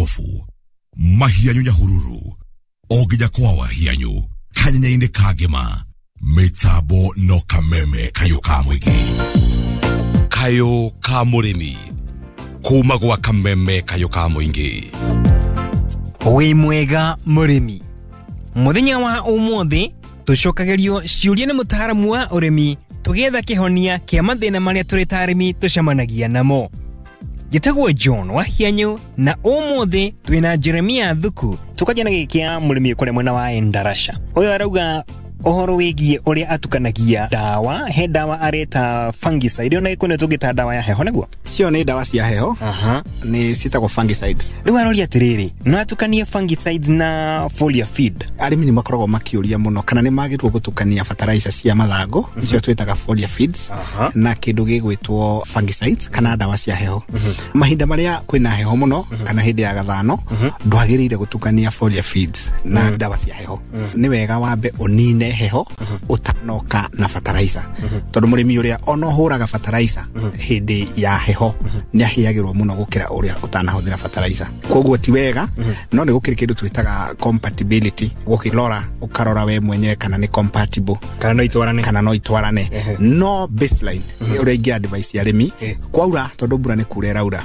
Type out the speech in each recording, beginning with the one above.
Kobu, Mahianyu Nyahururu, o nginya kwa Wahianyu, kanyenya-inĩ ka ngĩma, mĩtambo no kameme kayũ ka mũingĩ. Kayũ ka mũrĩmi, kuma gwa kameme kayũ ka mũingĩ. Wĩ mwega mũrĩmi. Mũthenya wa ũmũthĩ tũcokagĩrio ciũria nĩ mũtaaramu wa ũrĩmi tũgĩetha kĩhonia kĩa mathĩna marĩa tũrĩ ta arĩmi tũcemanagia namo. Njĩtagwo John Wahianyũ na ũmũthĩ twĩna Jeremia Thuku. Tũkanjia na gĩkĩ kĩa mũrĩmi kũrĩa mwena wa Endarasha. Ũyũ arauga ũhoro wĩgiĩ ũrĩa atukanagia ndawa, he ndawa areta fungicide, ona gĩkũyũ tũngĩta ndawa ya heho nĩguo? Cio nĩ ndawa cia heho. Aha. Nĩ ciĩtagwo fungicides. Rĩu aroria atĩrĩrĩ, no atukanie fungicides na foliar feed? Arĩmi nĩ makoragwo makĩũria mũno kana nĩ magĩrĩirwo gũtukania fertilizer cia mathangũ, icio twĩtaga foliar feeds, na kĩndũ gĩgwĩtwo fungicides kana ndawa cia heho. Mahinda marĩa kwĩna heho mũno kana hĩndĩ ya gathano, ndwagĩrĩire gũtukania foliar feeds na ndawa cia heho. Nĩ wega wambe ũnine heho ũtanoka na fertilizer, tondũ mũrĩmi ũrĩa ona ũhũraga fertilizer hĩndĩ ya heho nĩ ahĩagĩrwo mũno gũkĩra ũrĩa ũtanahũthĩra fertilizer. Koguo ti wega, no nĩ gũkĩrĩ kĩndũ twĩtaga compatibility, gũkĩrora ũkarora we mwenyewe kana nĩ compatible, kana no itwarane, kana no itwarane. No baseline ũrĩa ingĩ advice arĩmi, kwaura tondũ mbura nĩ kura ĩraura,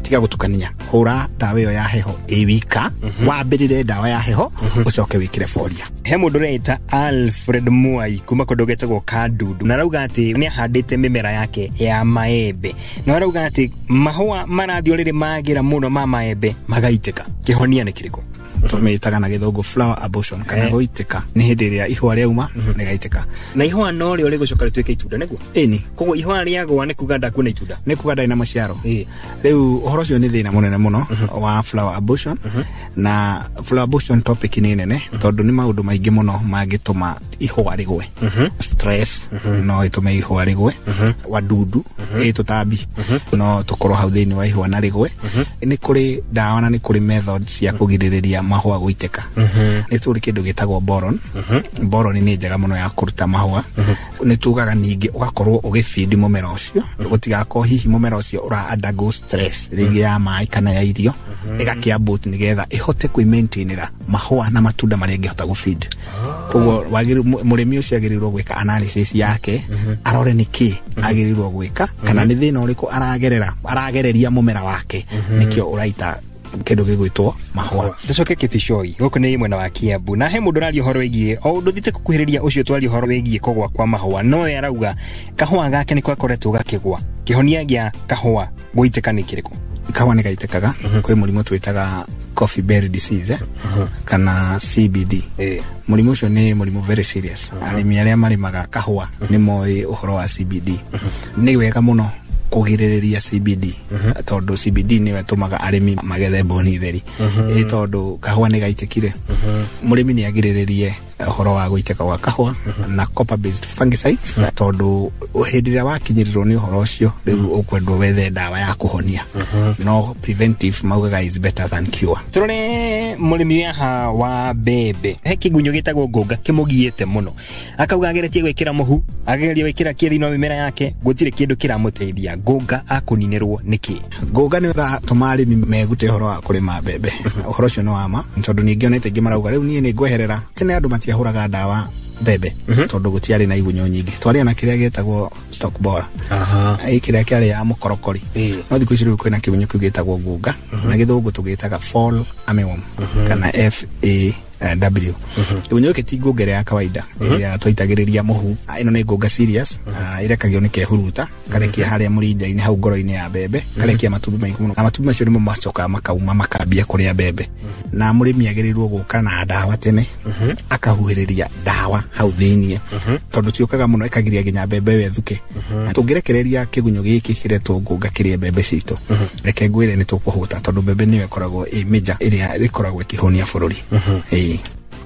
tiga gũtukania, hũra ndawa ĩyo ya heho ĩ wika, wambĩrĩre ndawa ya heho ũcoke wĩkĩre foliar. He mũndũ ũreita Alfred Mwai kuma kũndũ getagwo Kandudu, na arauga atĩ nĩ ahandĩte mĩmera yake ya maembe, na arauga atĩ mahũa marathiĩ o rĩrĩ magĩra mũno ma maembe magaitĩka. Kĩhonia nĩ kĩrĩkũ? Tũmĩtaga na gĩthũngũ flower abortion kana gũitĩka. Nĩ hĩndĩ ĩrĩa ihũa rĩauma rĩgaitĩka. Na ihũa no rĩo rĩgũcoka rĩtuĩke itunda nĩguo? Ĩni. Koguo ihũa rĩagũa nĩ kuga ndakuona itunda? Nĩ kuga ndarĩ na maciaro. Rĩu ũhoro ũcio nĩ thĩna mũnene mũno wa flower abortion. Na flower abortion topic nĩ nene tondũ nĩ maũndũ maingĩ mũno mangĩtũma ihũa rĩgwe. Stress no ĩtũme ihũa rĩgwe. Wadudu, tũtambi no tũkorwo hau thĩinĩ wa ihũa na rĩgwe. Nĩ kũrĩ ndawa na nĩ kũrĩ methods cia kũgirĩrĩria mahũa gũitĩka. Nĩ tũrĩ kĩndũ gĩtagwo boron. Boron nĩ njega mũno ya kũruta mahũa. Nĩ tugaga ningĩ ũgakorwo ũgĩbindi mũmera ũcio, gũtigakorwo hihi mũmera ũcio ũra undergo stress rĩngĩ ya maĩ kana ya irio, ĩgakĩambũt nĩgetha ĩhote kwĩmaintainĩra mahũa na matunda marĩa ĩngĩhota gũfeed. Koguo mũrĩmi ũcio agĩrĩirwo gwĩka analysis yake, arore nĩkĩ agĩrĩirwo gwĩka kana nĩ thĩna ũrĩkũ aragereria mũmera wake, nĩkĩo ũraita kĩndũ gĩgwĩtwo mahũa. Tũcoke Kĩbicoi, gũkũ nĩ mwena wa Kiambu, na he mũndũ ũraria ũhoro wĩgiĩ o ũndũ thiĩte gũkuhĩrĩria ũcio twaria ũhoro wĩgiĩ kũgũa kwa mahũa, no we arauga kahũa gake nĩko gakoretwo gakĩgũa. Kĩhonia gĩa kahũa gũitĩka nĩ kĩrĩkũ? Kahũa nĩ gaitĩkaga. Kwĩ mũrimũ twĩtaga coffee berry disease, kana CBD. Mũrimũ ũcio nĩ mũrimũ very serious. Arĩmi arĩa marĩmaga kahũa nĩ moĩ ũhoro wa CBD. Nĩ wega mũno kũgirĩrĩria CBD, tondũ CBD nĩyo ĩtũmaga arĩmi magethe mbũni theri. Ĩ tondũ kahũa nĩ gaitĩkire, mũrĩmi nĩ agirĩrĩrie ũhoro wa gũitĩka gwa kahũa na copper based fungicides, tondũ hĩndĩ ĩrĩa wakinyĩrĩrwo nĩ ũhoro ũcio rĩu ũkwendwo wethe ndawa ya kũhonia. No preventive maugaga is better than cure. Tũrore mũrĩmi haha wa mbembe, he kĩgunyũ gĩtagwo ngũnga kĩmũgiĩte mũno, akauga ageretie gwĩkĩra mũhu, ageria gwĩkĩra kĩ thĩinĩ wa mĩmera yake, gũtirĩ kĩndũ kĩramũteithia. Ngũnga akũninĩrwo nĩkĩ? Ngũnga nĩ ũratũma arĩmi megute ũhoro wa kũrĩma mbembe. Ũhoro ũcio nĩ wa ma, tondũ ningĩ onete aingĩ marauga rĩu niĩ nĩ ngweherera. Tene andũ matiahũraga ndawa mbembe tondũ gũtiarĩ na igunyũ nyingĩ. Twarĩ na kĩrĩa gĩtagwo stalk borer. Ĩ kĩrĩa kĩarĩ ya mũkorokori. No thikũ ici rĩu kwĩna kĩgunyũ kĩu gĩtagwo ngũnga, na gĩthũngũ tũgĩtaga fall armyworm kana FAW. Kĩgunyũ gĩkĩ ti ngũnga ĩrĩa ya kawaida ĩrĩa twaitagĩrĩria mũhu. Ĩno nĩ ngũnga serious, ĩrekagio nĩ kehuruta, karekia harĩa mũrinja-inĩ hau ngoro-inĩ ya mbembe, karekia matumbĩ maingĩ mũno. Na matumbĩ macio nĩmo macokaga makauma makambia kũrĩa mbembe. Na mũrĩmi agĩrĩirwo gũka na ndawa tene, akahuhĩrĩria ndawa hau thĩiniĩ, tondũ ciũkaga mũno ĩkagiria nginya mbembe ĩyo ĩthuke. Tũngĩrekereria kĩgunyũ gĩkĩ kĩretwo ngũnga kĩrĩe mbembe citũ, reke ngwĩre nĩ tũkũhũta, tondũ mbembe nĩyo ĩkoragwo ĩ major ĩrĩa ĩkoragwo ĩkĩhũnia bũrũri.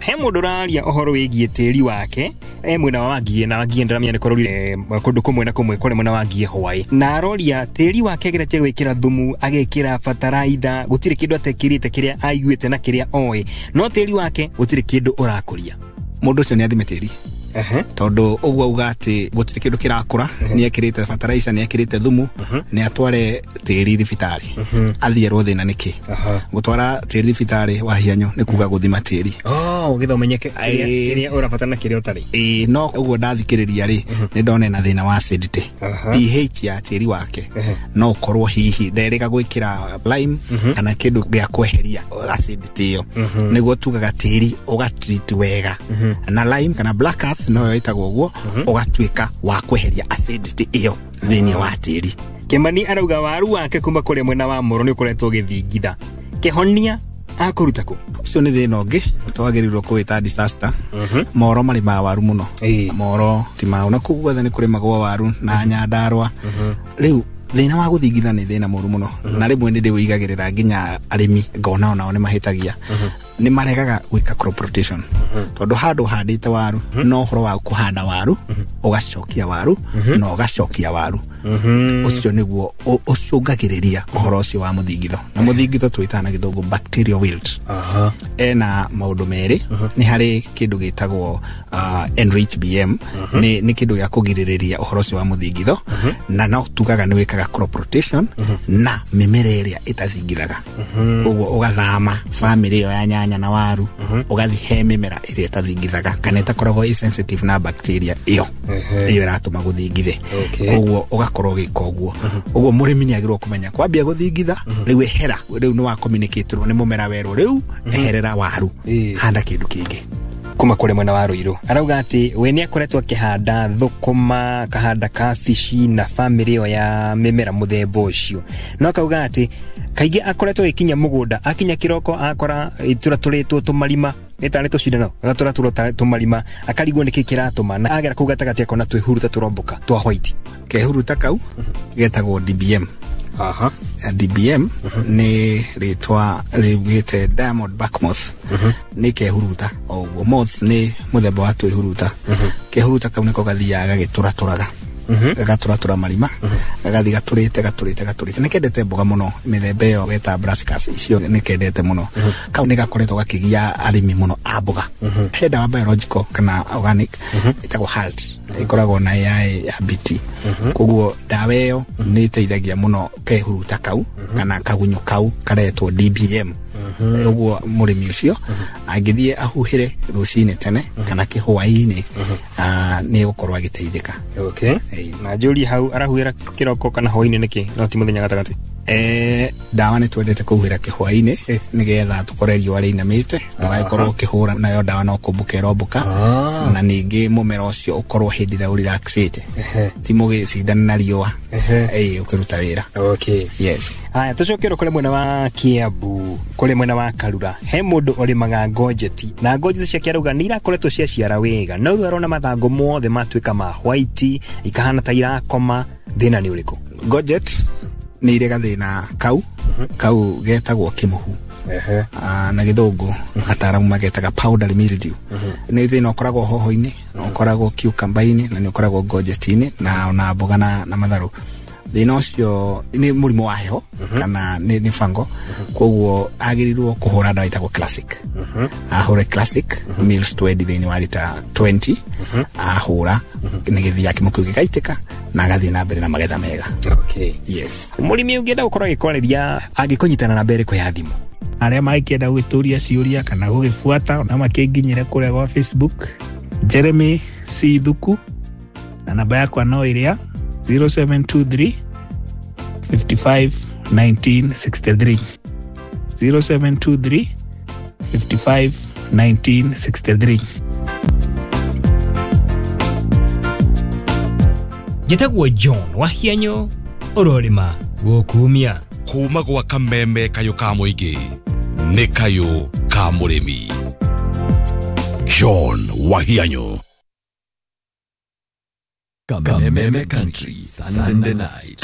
He mũndũ ũraria ũhoro wĩgiĩ tĩri wake, e mwena wa Wangiĩ, na Wangiĩ ndĩramenya nĩ kũrorire kũndũ kũmwe na kũmwe kũrĩ mwena wa Wangiĩ hwaĩ, na aroria tĩri wake ageretie gwĩkĩra thumu, agekĩra bataraitha, gũtirĩ kĩndũ atekĩrĩte kĩrĩa aiguĩte na kĩrĩa oĩ, no tĩri wake gũtirĩ kĩndũ ũrakũria. Mũndũ ũcio nĩ athime tĩri. Tondũ ũguo auga atĩ gũtirĩ kĩndũ kĩrakũra, nĩ ekĩrĩte fertilizer, nĩ ekĩrĩte thumu, nĩ atware tĩri thibitarĩ athiĩ erwo thĩna nĩkĩ. Gũtwara tĩri thibitarĩ wa hianyo nĩ kuga gũthima tĩri. Oh, ũgĩtha ũmenyeke kĩrĩa ũrabatara na kĩrĩa ũtarĩ. Ĩĩ, no ũguo ndathikĩrĩria rĩ, nĩ ndona ena thĩna wa acidity, pH ya tĩri wake. No ũkorwo hihi nderĩga gwĩkĩra lime kana kĩndũ gĩa kweheria acidity ĩyo, nĩguo tugaga tĩri ũgatreat wega na lime kana black earth, noyo ĩtagwo ũguo, ũgatuĩka wa kweheria acidity ĩyo thĩinĩ wa tĩri. Kĩmani arauga waru wake kuma kũrĩa mwena wa Moro nĩ ũkoretwo ũgĩthingitha, kĩhonia akũruta kũ? Ũcio nĩ thĩna ũngĩ twagĩrĩirwo kũwĩta disaster. Moro marĩmaga waru mũno. Moro ti mau na kũu guothe nĩ kũrĩmagwo waru na Nyandarũa. Rĩu thĩna wa gũthingitha nĩ thĩna mũru mũno, na rĩmwe nĩ ndĩwĩigagĩrĩra nginya arĩmi, ngona onao nĩ mahĩtagia, nĩ maregaga gwĩka crop rotation, tondũ handũ ũhandĩte waru no ũhoro wa kũhanda waru, ũgacokia waru na ũgacokia waru, ũcio nĩguo ũcũngagĩrĩria ũhoro ũcio wa mũthingitho. Na mũthingitho twĩtaga na gĩthũngũ bacterial wilt. Ena maũndũ merĩ. Nĩ harĩ kĩndũ gĩtagwo Enrich BM, nĩ kĩndũ gĩa kũgirĩrĩria ũhoro ũcio wa mũthingitho, na no tugaga nĩ wĩkaga crop rotation na mĩmera ĩrĩa ĩtathingithaga. Koguo ũgathama bamĩrĩ ĩyo ya nyanya na waru, ũgathi he mĩmera ĩrĩa ĩtathingithaga kana ĩtakoragwo ĩ sensitive na bacteria ĩyo ĩyo ĩratũma gũthingithe. Koguo ũgakorwo ũgĩka ũguo. Ũguo mũrĩmi nĩ agĩrĩirwo kũmenya kwambia gũthingitha rĩu, ehera. Rĩu nĩ wa communicate-rwo nĩ mũmera werwo rĩu eherera waru, handa kĩndũ kĩngĩ. Kuma kũrĩa mwena wa Ruiru arauga atĩ we nĩ akoretwo akĩhanda thũkũma, akahanda kabici na bamĩrĩ ĩyo ya mĩmera mũthemba ũcio, no akauga atĩ kaingĩ akoretwo agĩkinya mũgũnda, akinya kĩroko akora itũratũrĩtwo tũmarima nĩ tarĩ tũcindano, agatũratũrwo tarĩ tũmarima, akarigwo nĩkĩ kĩratũma, na agera kũu gatagatĩ akona twĩhuruta tũrombũka twa white. Kehuruta kau getagwo DBM. DBM nĩ rĩtwa rĩugĩte diamond back moth, nĩ kehuruta o ũguo. Moth nĩ mũthemba wa twĩhuruta. Kehuruta kau nĩko gathiaga gagĩtũratũraga, gagatũratũra marima, gagathiĩ gatũrĩte gatũrĩte gatũrĩte. Nĩ kendete mboga mũno, mĩthemba ĩyo weta brassicas icio nĩ kendete mũno. Kau nĩ gakoretwo gakĩgia arĩmi mũno a mboga. He ndawa biological kana organic ĩtagwo HALT, ĩkoragwo na AI ya BT. Koguo ndawa ĩyo nĩ ĩteithagia mũno kehuruta kau kana kagunyũ kau karetwo DBM. Ũguo mũrĩmi ũcio angĩthiĩ ahuhĩre rũcinĩ tene kana kĩhwaĩ-inĩ, nĩ egũkorwo agĩteithĩka. Na njũrie hau, arahuhĩra kĩroko kana hwaĩ-inĩ nĩkĩ no ti mũthenya gatagatĩ? Ndawa nĩ twendete kũhuhĩra kĩhwaĩ-inĩ nĩgetha tũkore riũa rĩinamĩte, ndũgagĩkorwo ũkĩhũra nayo ndawa no kũmbũka ĩrombũka, na ningĩ mũmera ũcio ũkorwo hĩndĩ ĩrĩa ũrelaxĩte, ti mũgĩcindana na riũa ũkĩruta wĩra. Yes. Haya, tũcokere kũrĩ mwena wa Kiambu, kũrĩ mwena wa Karura, he mũndũ ũrĩmaga ngonjeti, na ngonjeti ciake arauga nĩ irakoretwo ciaciara wega, no rĩu arona mathangũ mothe matuĩka ma white, ikahana ta irakoma. Thĩna nĩ ũrĩkũ? Courgette nĩ irĩ gathĩna kau kau getagwo kĩmũhu. Na gĩthũngũ ataaramu magetaga powdery mildew. Nĩ thĩna ũkoragwo hoho-inĩ, na ũkoragwo cucumber-inĩ, na nĩ ũkoragwo courgette-inĩ na ona mboga na matharũ. Thĩna ũcio nĩ mũrimũ wa heho kana nĩ fango. Koguo agĩrĩirwo kũhũra ndawa ĩtagwo Classic. Ahũre Classic mils 20 thĩinĩ wa lita 20. Ahũra nĩ gĩthiaga kĩmũ kĩu gĩgaitĩka na agathiĩ na mbere na magetha mega. Yes. Mũrĩmi ũngĩenda gũkorwo agĩkwarĩria angĩkũnyitana namba ĩrĩkũ ya thimũ? Arĩa mangĩenda gwĩtũria ciũria kana gũgĩbuata na makĩnginyĩre kũrĩa gwa Facebook, Jeremy C Thuku, na namba yakwa no ĩrĩa 0723 55 1963, 0723 55 1963. Njĩtagwo John Wahianyo, ũrorĩma gũkumia. Kuma gwa kameme kayũ ka mũingĩ nĩ kayũ ka mũrĩmi, John Wahianyo. Kameme Country Sunday night.